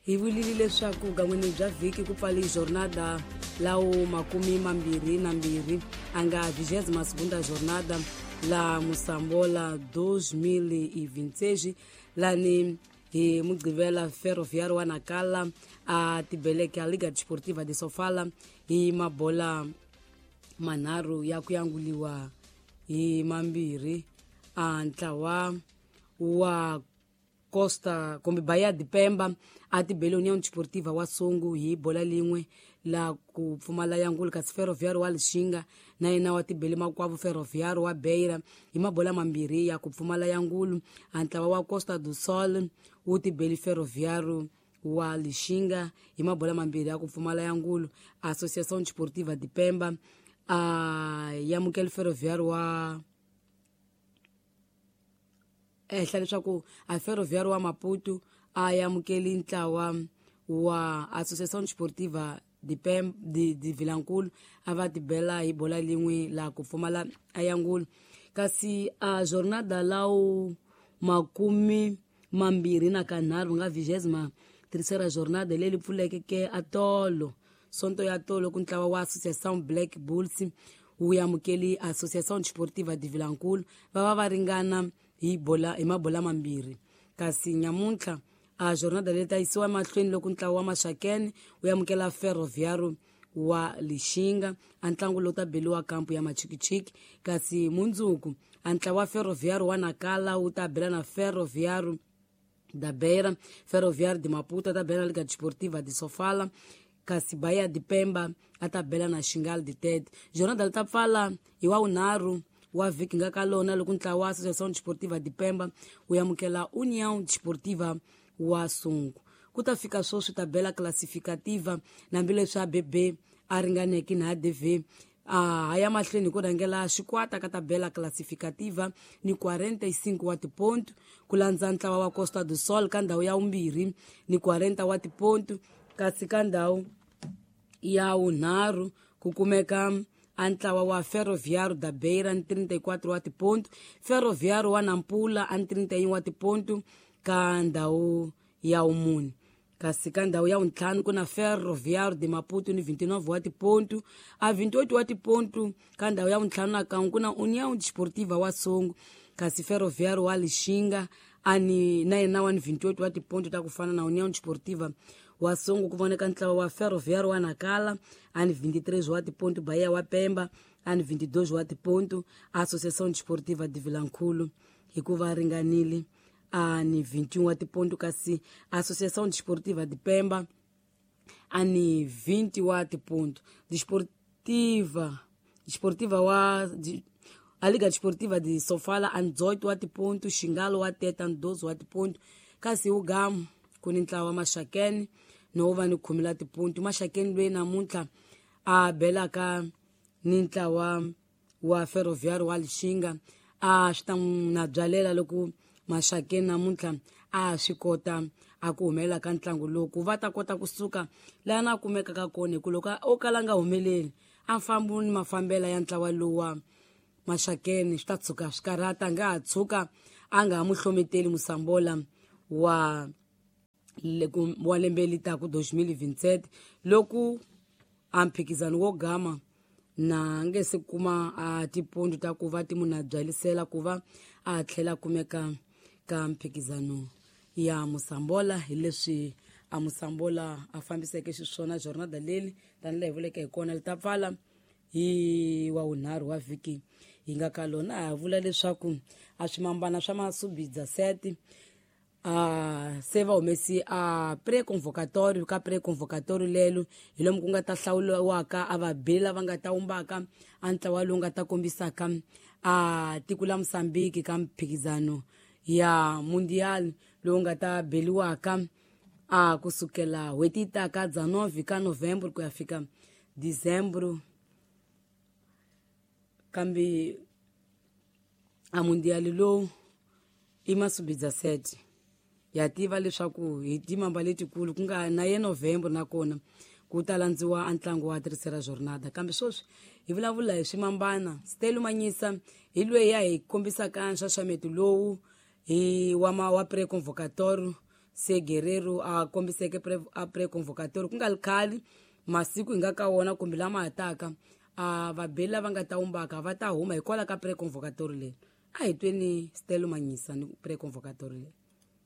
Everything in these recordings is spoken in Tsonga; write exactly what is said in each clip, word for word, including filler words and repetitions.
Hi vulile leswaku gan'wini bya vhiki ku pfali jornada lawo makumi mambirhi na mbirhi a nga vigésima segunda jornada la Moçambola dois mil e vinte e seis lani hi Mugqivela Ferroviário wa Nacala a tibeleke a Liga Desportiva de Sofala hi mabola manharhu ya ku yanguliwa hi mambirhi a ntlawa wa Costa kumbe Bahia de Pemba a tibele União Desportiva wa Songo hi bola lin'we la ku pfumala yangulu, kasi Ferroviário wa Lixinga na yena wa tibele makwavo Ferroviário wa Beira hi mabola mambirhi ya ku pfumala yangulu. A ntlawa wa Costa do Sol wu tibele Ferroviário wa Lixinga hi mabola mambirhi ya ku pfumala yangulu. Associação Desportiva de Pemba a yamukela Ferroviário wa ehla leswaku a Ferroviário wa Maputo a yamukeli ntlawa wa Associação Desportiva de Pemba de, de Vilankulu a va tibela hi bola lin'we la ku pfumala ayangulu. Kasi a jornada lawo makumi mambirhi na kanharhu nga vigésima terceira jornada leyi pfuleke ke atolo sonto ya tolo ku ntlawa wa Associação Black Bulls wu yamukeli Associação Desportiva de Vilankulu va va va ringana hi bola hi mabola mambirhi. Kasi nyamuntlha a jornada leyi ta yisiwa emahlweni loko ntlawa wa Maxakeni wu yamukela Ferroviário wa Lixinga a ntlangu lowu ta beliwa kampu ya Machikichiki. Kasi mundzuku a ntlawa wa Ferroviário wa Nacala wu ta bela na Ferroviário da Beira, Ferroviário de Maputo ta bela na Liga Desportiva de Sofala, kasi Bahia de Pemba a ta bela na Xingal de Tete. Jornada li ta pfala hi wa wunharhu wa vhiki nga ka lona loko ntlawa wa Associação Desportiva de Pemba wu yamukela União Desportiva wa Sungu. Ku ta fika sweswi tabela classificativa hambileswi A B B a ringaneke na A D V a ha ya mahlweni hi ku rhangela xikwata ka tabela classificativa ni quarenta e cinco wa tipontu, ku landza ntlawa wa Costa do Sol ka ndhawu ya vumbirhi ni quarenta wa tipontu, kasi ka ndhawu ya wunharhu ku kumeka a ntlawa wa Ferroviário da Beira ni trinta e quatro wa tipontu, Ferroviário wa Nampula a ni trinta e um wa tipontu ka ndhawu ya wumune. Kasi ka ndhawu ya wuntlhanu ku na Ferroviário de Maputo ni vinte e nove wa tipontu, a vinte e oito wa tipontu ka ndhawu ya wuntlhanu na kan'we ku na União Desportiva wa Songo, kasi Ferroviário wa Lixinga ani na yena wa ni vinte e oito wa tipontu ta ku fana na União Desportiva wa Songo. Ku voneka ntlawa wa Ferroviário wa Nacala ani vinte e três wa tipontu, Bahia wa Pemba ani vinte e dois wa tipontu, Associação Desportiva de Vilankulo hikuva ringanile ani vinte e um wa tipontu, kasi Associação Desportiva de Pemba ani vinte wa tipontu. Desportiva Desportiva wa de, a Liga Desportiva de Sofala ani dezoito wa tipontu, Xingalo wa Tete ani doze wa tipontu, kasi ugamu ku ni ntlawa wa Maxakeni no va ni khume la tipontu. Maxakeni loyi namuntlha a belaka ni ntlawa wa Ferroviário wa Lixinga a swi ta na byalela loko Maxakeni namuntlha a swi kota a ku humelela ka ntlangu lowu ku va ta kota kusuka laha na kumekaka kona, hi ku loko o kala nga humeleli a fambi ni mafambela ya ntlawa lowa Maxakeni swi ta tshuka swi karhata, nga ha tshuka a nga ha mu hlometeli Moçambola wa wa lembe li taku dois mil e vinte e sete loko a mphikizano wo gama na nge se kuma a tipontu ta ku va ti munhu a byalisela ku va a tlhela kumeka ka mphikizano ya Moçambola. Hi leswi a Moçambola a fambiseke xiswona jornada leli tanihi laha hi vuleke hi kona li ta pfala hi wa wunharhu wa vhiki hi nga ka lona. A vula leswaku a swimambana swa masubidza sete a se va humesi a pré-convocatório ka pré-convocatório lelo hi lomu ku nga ta hlawuriwaka a vabeli lava nga ta wumbaka a ntlawa lowu nga ta kombisaka a tiko la Mozambique ka mphikizano ya mundial lowu nga ta beliwaka a kusukela n'hweti yi taka dezenove ka Novembro ku ya fika Dezembro. Kambe a mundial lowu i masubidza sete ya tiva leswaku hi timamba letikulu ku nga na ye November nakona ku ta landziwa a ntlangu wa terceira jornada. Kambe sweswi hi vulavula hi swimambana Stelo Manyisa hi loyi ya hi kombisaka nxaxameto lowu hi wa ma wa pré-convocatório. se Guerreiro a kombiseke pre, a pre-convocatory ku nga ri khale masiku hi nga ka wona kumbe lama hataka a vabeli lava nga ta wumbaka va ta huma hikwalaho ka pre-convocatory leyi. A hi tweni Stelo Manyisa ni pre-convocatory leyi.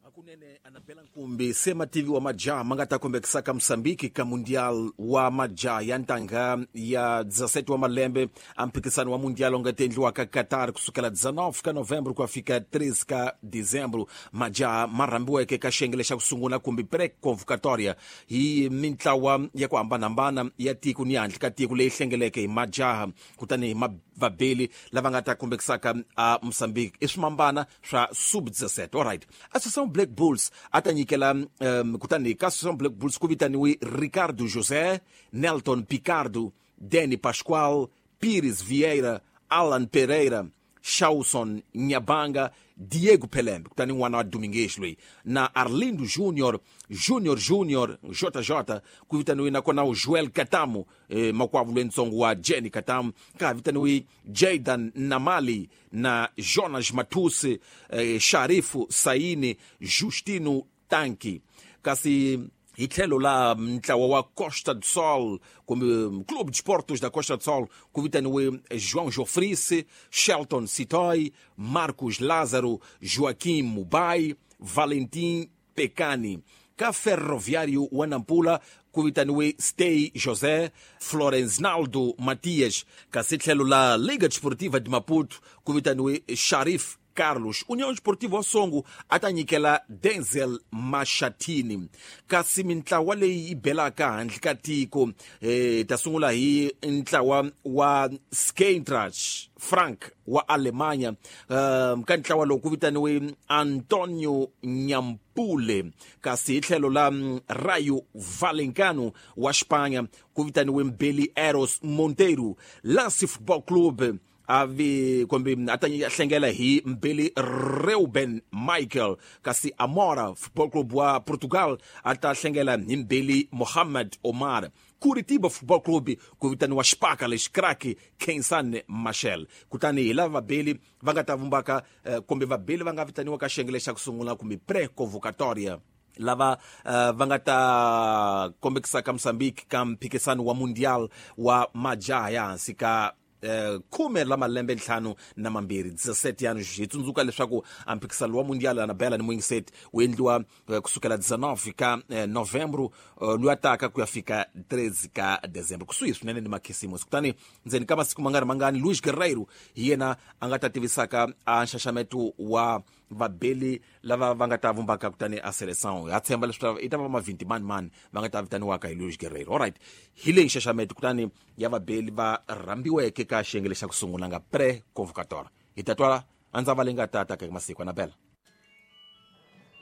Hakunene Anabela Nkumbi se mativi wa majaha ma nga ta kombekisaka Mosambiki ka Mundial wa majaha ya ntangha ya dezesete wa malembe a mphikisano wa Mundial wu nga ta endliwaka Qatar kusukela dezenove ka Novembro ku ya fika treze ka Dezembro. Majaha ma rhambiweke ka xiyenge xa ku sungula kumbe pre-convocatoria hi mintlawa ya ku hambanahambana ya tiko ni handle ka tiko leyi hlengeleke hi majaha kutani hi vabeli lava nga ta kombekisaka a Mosambiki i swimambana swa sub dezesete. Alright, Associação Black Bulls a ta nyikela um, kutani ka Associação Black Bulls ku vitaniwe Ricardo José, Nelton Picardo, Danny Pascoal, Pires Vieira, Alan Pereira, Shawson Nyabanga, Diego Pelembe, kutani n'wana wa Domingues loyi, na Arlindo Junior, Junior Junior, J J, ku vitaniwe nakona u Joel Katamu, eh, makwavo lwentsongo wa Jenny Katamu, ka vitaniwe Jaydan Namali na Jonas Matusi, eh, Sharifu Saini, Justino Tanki. Kasi hi tlhelo la ntlawa wa Costa do Sol kumbe Clube de Esportes da Costa do Sol ku vitaniwe João Jofrice, Shelton Sitoy, Marcos Lázaro, Joaquim Mubai, Valentim Pecani. Ka Ferroviário wa Nampula ku vitaniwe Stey José, Florenznaldo Matias. Kasi tlhelo la Liga Desportiva de Maputo ku vitaniwe Sharif Carlos. União Esportiva wa Songo a ta nyikela Denzel Mashatini. Kasi mintlawa leyi yi belaka handle ka tiko eh, ta sungula hi ntlawa wa Skentrach Frank wa Alemanha. Um, ka ntlawa lowu ku vitaniwe Antonio Nyampule. Kasi hi tlhelo la Rayo Vallecano wa Espanha ku vitaniwe Mbeli Eros Monteiro. Lance Football Club avi kumbe a ta hlengela hi Mbeli Reuben Michael. Kasi Amora Football Club wa Portugal a ta hlengela hi Mbeli Mohamed Omar. Curitiba Football Club ku vitaniwa Xipaka lexi crack Kensan Machel. Kutani hi lava vabeli va nga ta vumbaka eh, kumbe vabeli va nga vitaniwa ka xiyenge xa ku sungula kumbe pre-convocatoria lava uh, va nga ta kombekisaka Mosambiki ka mphikisano wa Mundial wa majaha ya hansi ka Uh, khume la malembe ntlhanu na mambirhi dezesete anos. Hi tsundzuka leswaku a mphikisano wa Mundial Anabela ni Mwingiset wu endliwa uh, kusukela dezenove ka uh, Novembro uh, luya taka ku ya fika treze ka Dezembro, kusuhi swinene ni makhisimusi. Kutani ndzeni ka masiku mangari mangani Luis Guerreiro hi yena a nga ta tivisaka a nxaxameto wa vabeli lava va nga ta vumbaka kutani a seleção. Ha tshemba leswaku i ta va mavhinti mani mani va nga ta vitaniwaka hi Luis Guerreiro. Alright, hi leyi nxaxameto kutani ya vabeli va rhambiweke ka xiyenge lexa ku sungula nga pre-convocatoria. Hi ta twa a ndza va leyi nga ta ta ka masiku. Anabela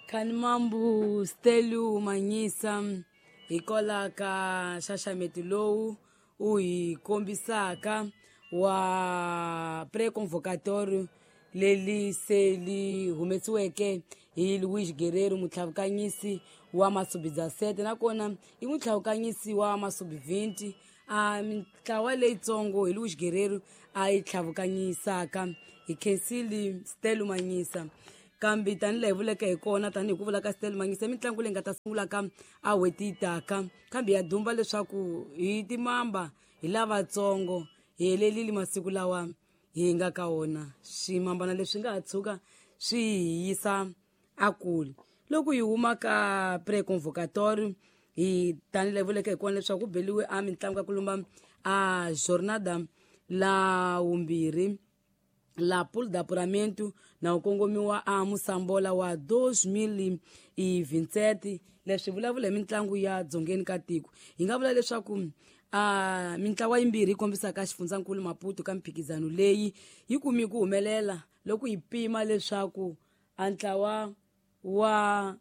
Khanimambu Stelu Manyisa hikwalaho ka nxaxameto lowu u hi kombisaka wa pre-convocatory leli se li humesiweke hi Luis Guerreiro, mutlhavukanyisi wa masubi dezesete, nakona i mutlhavukanyisi wa masubi vinte. A mintlawa leyitsongo hi Luis Guerreiro a yi tlhavukanyisaka hi khensile Stelo Manyisa. Kambe tanihi laha hi vuleke hi kona, tanihi ku vula ka Stelo Manyisa, mitlangu leyi nga ta sungulaka a n'hweti yi taka, kambe ya dumba leswaku hi timamba hi lavatsongo hi helelile masiku lawa hi nga ka wona. Swimambana leswi nga ha tshuka swi hi yisa a kule. Loko hi huma ka pre-convocatory hi tanihi laha hi vuleke hi kona leswaku ku beliwe a mitlangu ya ku lumba a jornada la vumbirhi la pool d'apuramento na ku kongomiwa a Mosambola wa dois mil e vinte e sete. Leswi vulavula hi mitlangu ya dzongeni ka tiko. Hi nga vula leswaku a mintlawa yimbirhi yi kombisaka xifundzankulu Maputo ka mphikizano leyi yi kumi ku humelela loko hi pima leswaku a ntlawa wa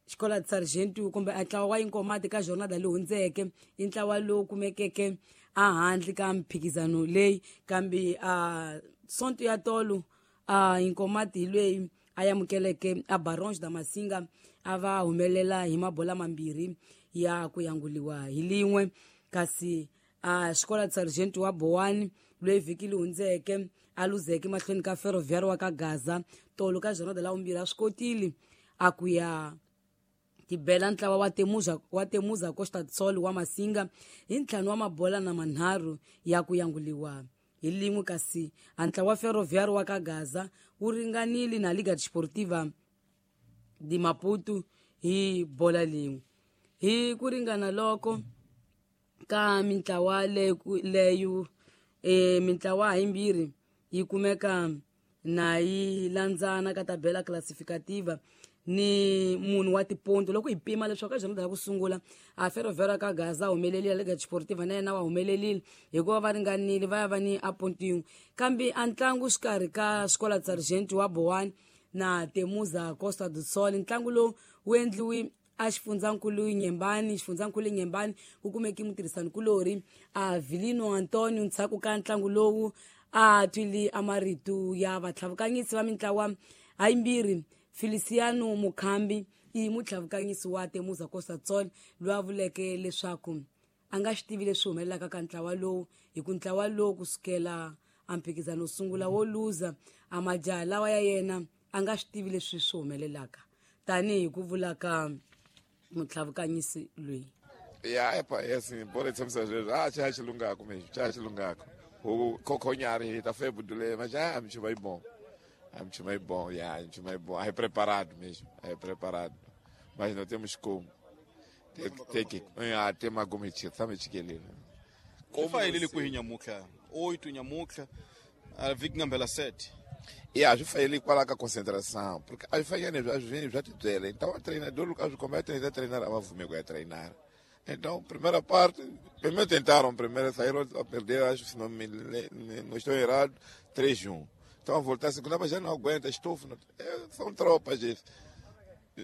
Escola de Sargento kumbe a ntlawa wa Inkomati ka jornada leyi hundzeke i ntlawa lowu kumekeke a handle ka mphikizano leyi, kambe a sonto ya tolo a Inkomati hi leyi a amukeleke a Barões da Masinga a va humelela hi mabola mambirhi ya ku yanguliwa hi lin'we. Kasi a Escola de Sargento wa Boane loyi vhiki leyi hundzeke a luzeke mahlweni ka Ferroviário wa ka Gaza tolo ka jornada la vumbirhi a swi kotile a ku ya Tibela ntlawa wa Temuza wa Temuza Costa do Sol wa Masinga hi ntlhanu wa mabola na manharhu ya ku yanguliwa hi lin'we, kasi a ntlawa wa Ferroviário wa ka Gaza wu ringanile na Liga Desportiva de Maputo hi bola lin'we. Hi ku ringana loko ka mintlawa leyo e mintlawa himbirhi yi kumeka na yi landzana ka tabela classificativa ni munhu wa tiponto. Loko hi pima leswaku ka jornada ya ku sungula a Ferroviário ka Gaza humelerile, Liga Desportiva na yena wa humelerile hikuva va ringanile va ya va ni a ponto yin'we. Kambe a ntlangu xikarhi ka Escola Sargento wa Boane na Temuza Costa do Sol, ntlangu lowu wu endliwi a xifundzankulu Nyembani, xifundzankulu Nyembani ku kumeki mutirhisanikulori a Vilino Antonio. Ndzhaku ka ntlangu lowu a twile a marito ya vatlhavukanyisi va mintlawa hayimbirhi. Feliciano Mukhambi i mutlhavukanyisi wa Temuza Costa do Sol loyi a vuleke leswaku a nga swi tivi leswi humelelaka ka ntlawa lowu, hi ku ntlawa lowu kusukela a mphikizano sungula wo luza a majaha lawa ya yena a nga swi tivi leswi swi humelelaka, tanihi ku vula ka mutlhavukanyisi loyi. Ya epa yes bora tsamisa sweswo a cha xilungako mesmo cha xilungako o kokhonyari hi ta febu dule mas já me chama bom a me chama bom ya me chama bom é preparado mesmo é preparado mas não temos como tem que ah tem uma gomiti sabe chikelele como fa ele ku hinyamuka oito nyamuka a vikingambela sete. E a gente faz ele qual é a concentração, porque a gente faz às vezes já te dela. Então o treinador, o como é treinar, treinar, a vou é treinar. Então, primeira parte, primeiro tentaram, primeiro saíram a perder, acho que se não me não estou errado, três a um. Então a voltar a segunda, mas já não aguenta, estufo, não, é, são tropas, gente.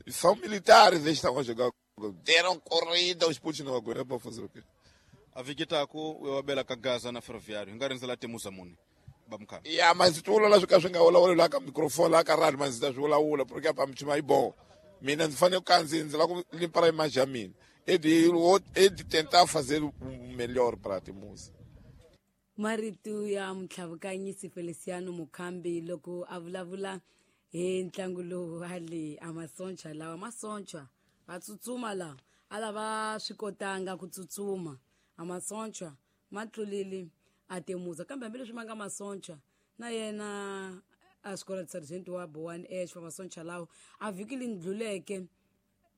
São militares, eles estão a jogar. Deram corrida, os putos não aguentam, para fazer o quê? A Vigitaco, eu abela Gaza na Ferroviário, engarenza lá temos a muni. Ya mas tu la swi ka swi nga vulavuli la ka microphone la ka radio mas ndzi ta swi vulavula porque apa mi yi bon mina ndzi fanele ku kandziya ndzi lava ku limpara image ya mina e de e de tentar fazer o melhor para Temuza. Marito ya mutlhavukanyisi Feliciano Mukhambi loko a vulavula hi ntlangu lowu wa le a masoncha lawa masoncha va tsutsuma lawa a lava swi kotanga ku tsutsuma a masoncha ma tlulile a Temuza, kambe hambileswi ma nga masoncha na yena a Escola Sargento wa Boane Ash va masoncha lawa a vhiki lindluleke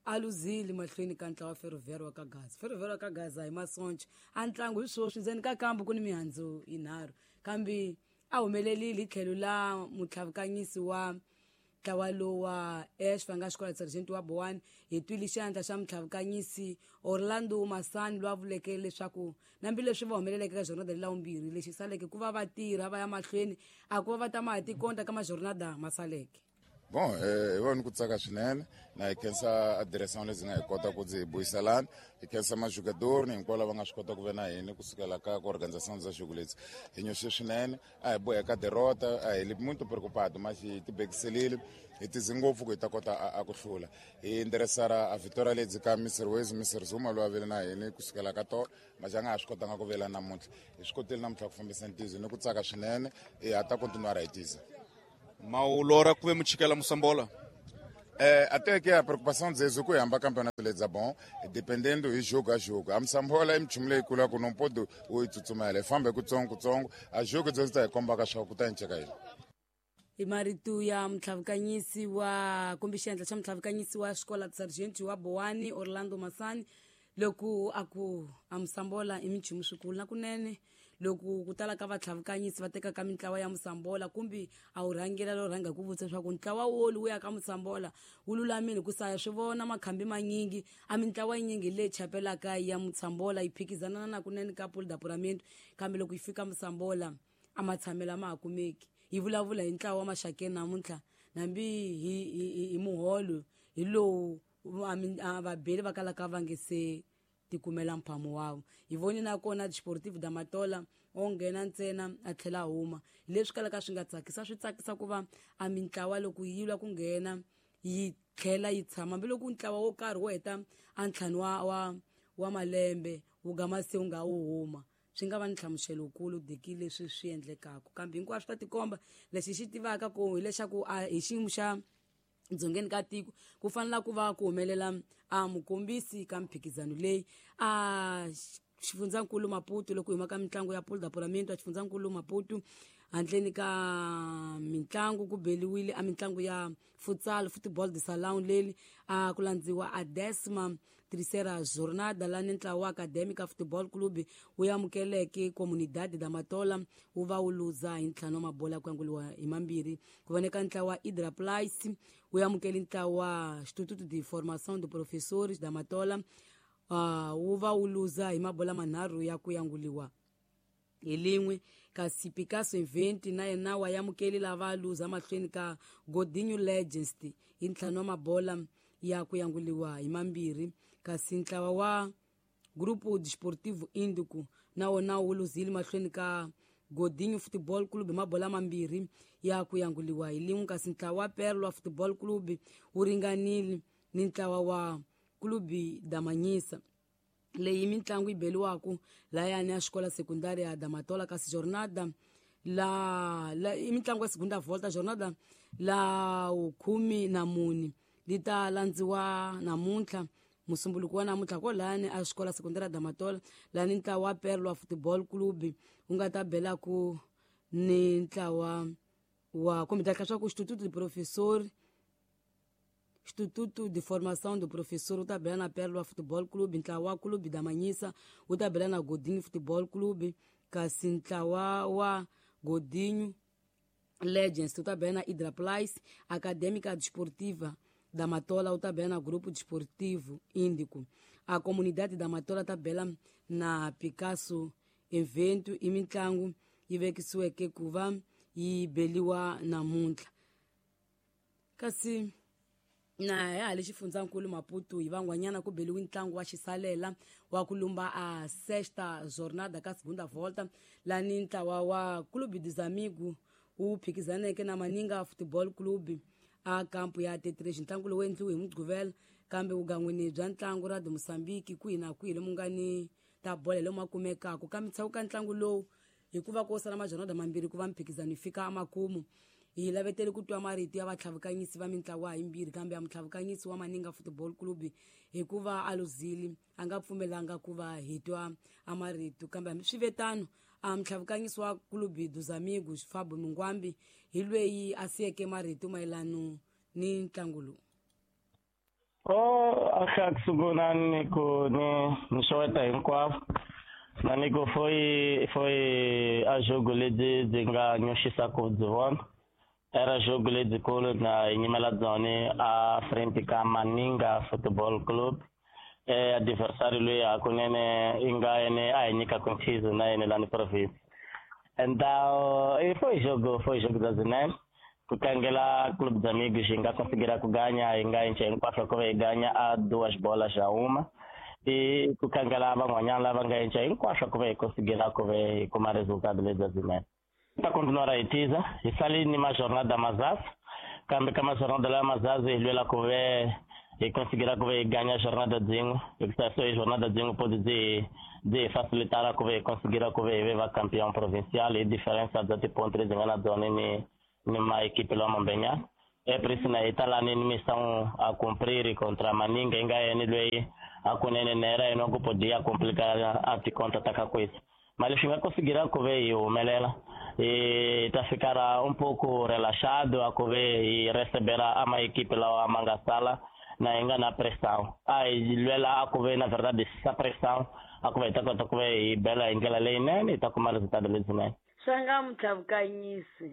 a luzile mahlweni ka ntlawa Ferroviário wa ka Gaza. Ferroviário wa ka Gaza hi masoncha a ntlangu hi swoswi ndzeni ka kambu ku ni mihandzu yinharhu, kambe a humelelile hi tlhelo la mutlhavukanyisi wa ntlawa lowu wa Ash va nga Escola Sargento wa Boane. Hi twile xandla xa mutlhavukanyisi Orlando Masani loyi a vuleke leswaku hambileswi va humeleleke ka jornada leyi vumbirhi lexi saleke ku va va tirha va ya mahlweni a ku va va ta ma ha tikonta ka majornada ma saleke. Bom, eu vou ku tsaka swinene na hi khensa a direção lezi nga hi kota ku ndzi buyiselana, hi khensa majogador ni hinkwavo lava nga swi kota ku ve na hina kusukela ka ku organização za jogo leti. Hi nyoxe swinene, a hi boheka derrota, a hi li muito preocupado, mas hi tibekiselile, hi tize ngopfu ku hi ta kota a, a ku hlula. Hi endereçar a vitória leti ka Mister Wezi, Mister Zuma loyi a vele na hina kusukela ka tolo, mas a nga ha swi kotanga ku vela namuntlha. Hi swi kotile namuntlha ku fambisa ntizo ni ku tsaka swinene, hi ha ta continuar hi tiza. Maulora kuve muchikela Moçambola. É, até que a preocupação deles é que o campeonato é bom, dependendo de jogo a jogo. A Moçambola é muito legal, que não pode o itsutsumela, fambe kutsongo kutsongo, a jogo deles tá komba ka swa ku ta nceka yini. I marito ya mutlhavukanyisi wa kumbe xandla xa mutlhavukanyisi wa Escola Sargento wa Boane Orlando Masani loko a ku a Moçambola i minchumu swikulu na kunene loko ku tala ka vatlhavukanyisi va tekaka mintlawa ya Moçambola kumbe a wu rhangela lo rhanga ku vutisa leswaku ntlawa wolu wu ya ka Moçambola wu lulamile ku saya swi vona makhambi manyingi a mintlawa yinyingi leyi chapelaka ya Moçambola yi phikizana na kunene ka Pool d'Apuramento, kambe loko yi fika Moçambola a matshamelo ma ha kumeki. Hi vulavula hi ntlawa wa Maxakeni namuntlha nambi hi hi hi muholo hi lowu vabeli va kalaka va nge se tikumela mphamo wavo. Hi voni na kona Desportivo da Matola o nghena ntsena a tlhela huma, leswi kalaka swi nga tsakisa swi tsakisa ku va a mintlawa loko yi lwa ku nghena yi tlhela yi tshama, hambiloko ntlawa wo karhi wo heta a ntlhanu wa wa wa malembe wu gama se wu nga wu huma, swi nga va ni nhlamuselo wukulu diki leswi swi endlekaka. Kambe hinkwaswo ta tikomba lexi xi tivaka ku hileswaku a hi xiyimo xa Dzongeni ka tiko ku fanela ku va ku humelela a mukombisi ka mphikizano leyi a xifundzankulu Maputo loko hi huma ka mitlangu ya Pool d'Apuramento a xifundzankulu Maputo handleni ka mitlangu ku beliwile a mitlangu ya futsal football de salão leli a ku landziwa a décima terceira jornada la ni ntlawa wa Acadêmica Futebol Clube wu amukeleke Comunidade da Matola wu va wu luza hi ntlhanu wa mabola ku yanguliwa hi mambirhi ku voneka ntlawa wa Idra Place wu amukele ntlawa wa Instituto de Formação de Professores da Matola uh, wu va wu luza hi mabola manharhu ya ku yanguliwa hi lin'we kasi Picasso Inventi na yena wa amukeli lava luza mahlweni ka Godinho Legends hi ntlhanu wa mabola ya ku yanguliwa hi mambirhi kasi ntlawa wa Grupo Desportivo Índico na wona wu luzile mahlweni ka Godinho Futebol Clube hi mabola mambirhi ya ku yanguliwa hi lin'we kasi ntlawa wa Perla Futebol Clube wu ringanile ni ntlawa wa Clube da Manhissa leyi mitlangu yi beliwaku layani ya xikola sekundari ya Damatola kasi jornada la, la i mitlangu ya segunda volta jornada la khume na mune li ta landziwa namuntlha musumbuluko wa namuntlha ko layani a xikola sekundari ya Damatola lani ntlawa wa Perla Football Club wu nga ta belaku ni ntlawa wa kumbe ta swa ku Instituto de Professor Instituto de Formação do Professor wu ta bela na Perla Futebol Clube ntlawa wa Clube da Manhissa wu ta bela na Godinho Futebol Clube kasi ntlawa wa Godinho Legends wu ta bela na Idra Place Acadêmica Desportiva da Matola wu ta bela na Grupo Desportivo Índico a Comunidade da Matola ta bela na Picasso Evento i mitlangu yi vekisiweke ku va yi beliwa namuntlha kasi na ya le xifundzankulu Maputo hi van'wanyana ku beliwe ntlangu wa xisalela wa ku lumba a sexta jornada ka segunda volta lani ntlawa wa Clube dos Amigos wu phikizaneke na Maninga Football Club a kampu ya T três ntlangu lowu endliwe hi Mugqivela kambe vugan'wini bya ntlangu ra Moçambique kwihi na kwihi lomu nga ni ta bola lomu kumekaka kambe ntshaku ka ntlangu lowu hikuva ko sala majornada mambirhi ku va mphikizano yi fika emakumu hi lavetele ku twa marito ya vatlhavukanyisi va mintlawa yimbirhi kambe ya mutlhavukanyisi wa Maninga Football Club hikuva a luzile a nga pfumelanga ku va hi twa a marito kambe hambi swi ve tano a mutlhavukanyisi wa Clube dos Amigos Fabo Mungwambi hi lweyi a siyeke marito mayelano ni ntlangu lowu. Oh, a ku sungula ni ku ni ni xeweta hinkwavo na ni ku foi foi a jogo lebyi byi nga nyoxisa ku byi vona era jogo lebyikulu na hi nyimela byona a frente ka Maninga Football Club e adversário loyi hakunene i nga yene a hi nyikaka nchizo na yene lani province então e foi jogo foi jogo da Zinene ku tlangela Clube dos Amigos hi nga conseguir ku ganha hi nga enche hinkwaswo ku va hi ganha a duas bolas a uma e ku tlangela van'wanyana lava nga enche hinkwaswo ku va hi conseguir ku va hi kuma resultado lebyi Zinene ta continuar hi tiza hi sali ni majornada mazazi kambe ka majornada lawa mazazi hi lwela ku ve hi conseguir ku va hi ganha jornada dzin'we hikuva so hi jornada dzin'we pode byi byi hi facilitar ku va hi conseguir ku va hi ve va campeão provincial hi diferença bya tiponto lebyi nga na byona ni ni ma equipe lawa mambenyana e por isso na hi ta lani ni missão a cumprir contra Maninga hi nga yena lweyi hakunene na era yena ku podia complicar a ticonta ta ka coisa mas leswi nga conseguir ku ve hi humelela e ta ficar um pouco relaxado a ku ve hi receber a ma equipe lawa ma nga sala na hi nga na pressão a hi lwela a ku ve na verdade essa pressão a ku ve hi ta kota ku ve hi bela hi ndlela leyinene hi ta kuma resultado lebyinene. Swa nga mutlhavukanyisi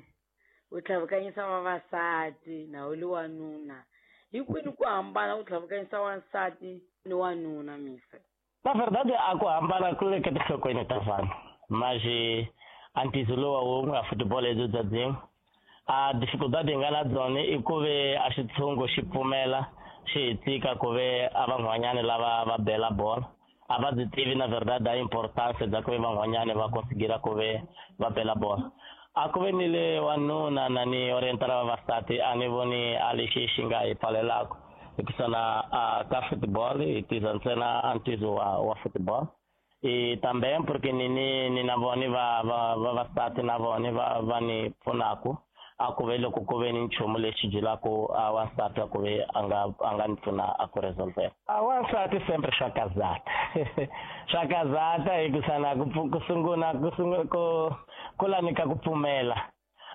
u tlhavukanyisa vavasati na u li wanuna hi kwini ku hambana ku tlhavukanyisa wansati ni wanuna misa? Na verdade a ku hambana ku le ka tinhlokweni ta vanhu mas a ntiyiso lowa wun'we a football lebyi bya byin'we a dificuldade hi nga na byona i ku ve a xitshungu xi pfumela xi hi tshika ku ve a van'wanyana lava va bela bola a va byi tivi na verdade a importance bya ku ve van'wanyana va conseguir ku ve va bela bola a ku ve ni le wanuna na ni orientar vavasati a ni voni a lexi xi nga hi pfalelaka hikuva na a ka football hi tiza ntsena a ntizo wa wa football e também porque ni ni ni na vona va va vavasati na vona va va ni pfunaku a ku ve loko ku ve ni nchumu lexi byelaka a wansati a ku ve a nga a nga ni pfuna a ku resolvela. A wansati sempre swa kazata swa kazata hikusa ku ku sungula ku sungula ku ku lanika ku pfumela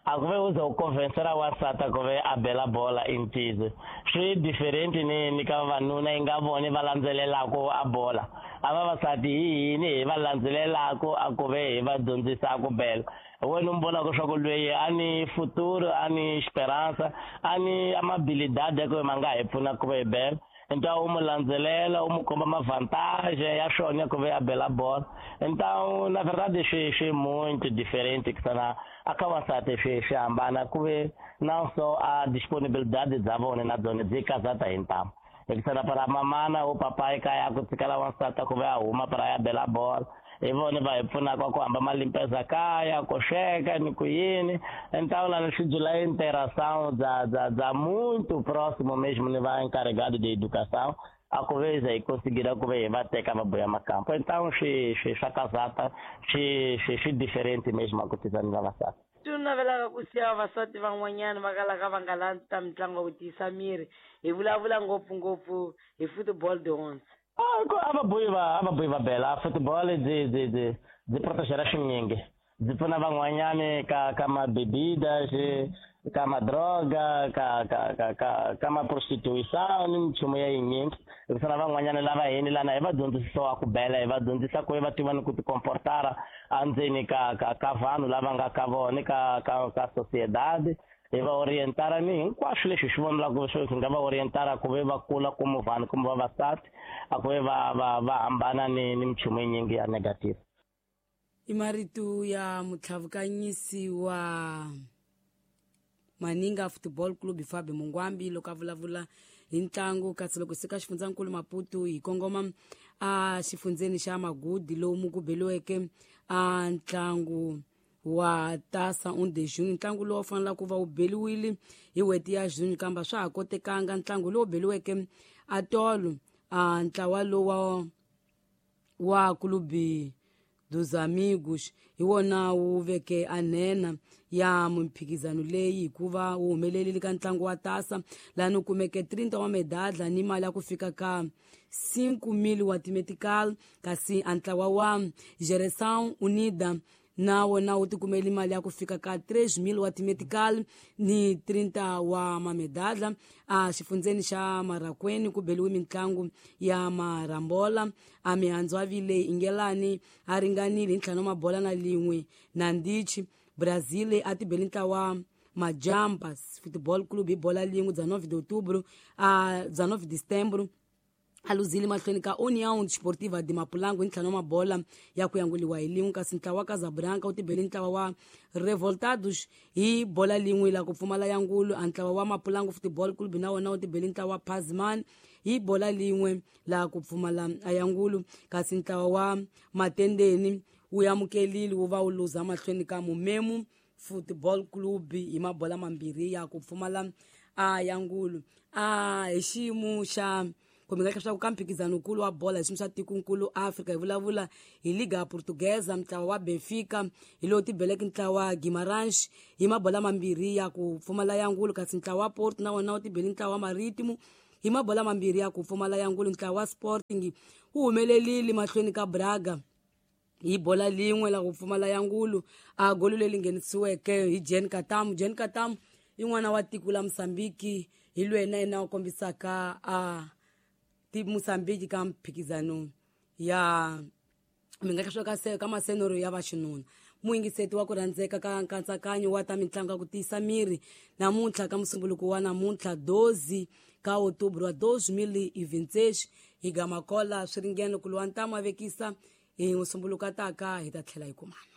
a ku ve u za u convencera wansati ku ve a bela bola i ntiyiso swi different ni ni ka vavanuna yi nga voni va landzelelaka a bola a vavasati hi hini hi va landzelelaka a ku ve hi va dyondzisa ku bela wena u vonaka swa ku lweyi a ni futuro a ni esperanza a ni amabilidade ya ku ma nga hi pfuna ku ve hi bela então u mu landzelela u mu komba mavantage ya swona ya ku ve a bela bola então na verdade swi swi muito diferente kusana a ka wansati swi swi hambana ku ve não só a disponibilidade bya vona na byona byi kazata hi ntamu hikusa para mamana u papai kaya ku tshikela wansati ku ve a huma para ya bela bola hi vona va hi pfunaka ku hamba malimpeza kaya ku sweka ni ku yini então lá swi byela interação bya bya bya muito próximo mesmo ni va encarregado de educação a ku ve hi conseguir ku ve hi va teka va boya makampo então swi swi swa kazata swi swi swi diferente mesmo a ku tisa ni vavasati. Tu navelaka ku siya vavasati van'wanyana va kalaka va nga landzi ta mitlangu ya ku tiyisa miri hi vulavula ngopfungopfu hi football de onze. Ah, a va boyi va a va boyi va bela football byi byi byi byi protegera swinyingi byi pfuna van'wanyani ka ka mabebidas ka madroga ka ka ka ka ka maprostituição ni minchumu ya yinyingi hikusa na van'wanyana lava hini lana hi va dyondzisiwa ku bela hi va dyondzisa ku va tiva ni ku tikomportara endzeni ka ka ka vanhu lava nga ka vona ka ka ka sociedade hi va orientara ni hinkwaswo leswi swi vonelaka swi nga va orientara ku ve va kula como vanhu kumbe vavasati a ku ve va va va hambana ni ni minchumu yinyingi ya negative. I marito ya mutlhavukanyisi wa Maninga Football Club Fabio Mungwambi loko a vulavula hi ntlangu kasi loko sika xifundzankulu Maputo hi kongoma a xifundzeni xa Magudi lomu ku beliweke a ntlangu wa Taça um de Junho ntlangu lowu fanelaka ku va wu beliwile hi n'hweti ya June kambe swa ha kotekanga ntlangu lowu beliweke a tolo a ntlawa lowa wa Clube dos Amigos hi wona wu veke a nhenha ya mimphikizano leyi hikuva wu humelerile ka ntlangu wa Taça laha u kumeke trinta wa medadla ni mali ya ku fika ka cinco mil wa timetical kasi a ntlawa wa Geração Unida na wona wu tikumele mali ya ku fika ka três mil wa timetical ni trinta wa mamedadla a xifundzeni xa Marakweni ku beliwe mitlangu ya marambola a mihandzu a vile ingelani a ringanile hi ntlhanu mabola na lin'we na ndichi Brazil a tibeli ntlawa Majampas Football Club hi bola lin'we bya nove de outubro a bya nove de setembro a luzile mahlweni ka União Desportiva de Mapulango hi ntlhanu wa mabola ya ku yanguliwa hi lin'we kasi ntlawa wa Casablanca wu tibele ntlawa wa Revoltados hi bola lin'we la ku pfumala yangulu a ntlawa wa Mapulango Football Club na wona wu tibele ntlawa wa Pazman hi bola lin'we la ku pfumala yangulu kasi ntlawa wa Matendeni wu amukelile wu va wu luza mahlweni ka Mumemu Football Club hi mabola mambirhi ya ku pfumala a yangulu a hi xiyimo xa kumbe nga leswaku ka mphikizano nkulu wa bola hi xiyimo xa tikonkulu Afrika hi vulavula hi Liga Portuguesa ntlawa wa Benfica hi lowu tibeleke ntlawa wa Guimarães hi mabola mambirhi ya ku pfumala yangulu kasi ntlawa wa Porto na wona wu tibele ntlawa wa Marítimo hi mabola mambirhi ya ku pfumala yangulu ntlawa wa Sporting wu humelelile mahlweni ka Braga hi bola lin'we la ku pfumala yangulu a golo leri nghenisiweke hi Jean Katamu Jean Katamu i n'wana wa tiko la Mozambique hi lweyi na yena u kombisaka a ti Mozambique ka mphikizano ya mi nga ka ka masenoro ya vaxinuna muyingiseti wa ku rhandzeka ka nkatsakanyo wa ta mitlangu ya ku tiyisa miri namuntlha ka musumbuluko wa namuntlha doze ka outubro wa dois mil e vinte e seis hi gamakola swi ringene ku lwa ntamu a vekisa hi musumbuluko a taka hi ta tlhela hi kumana.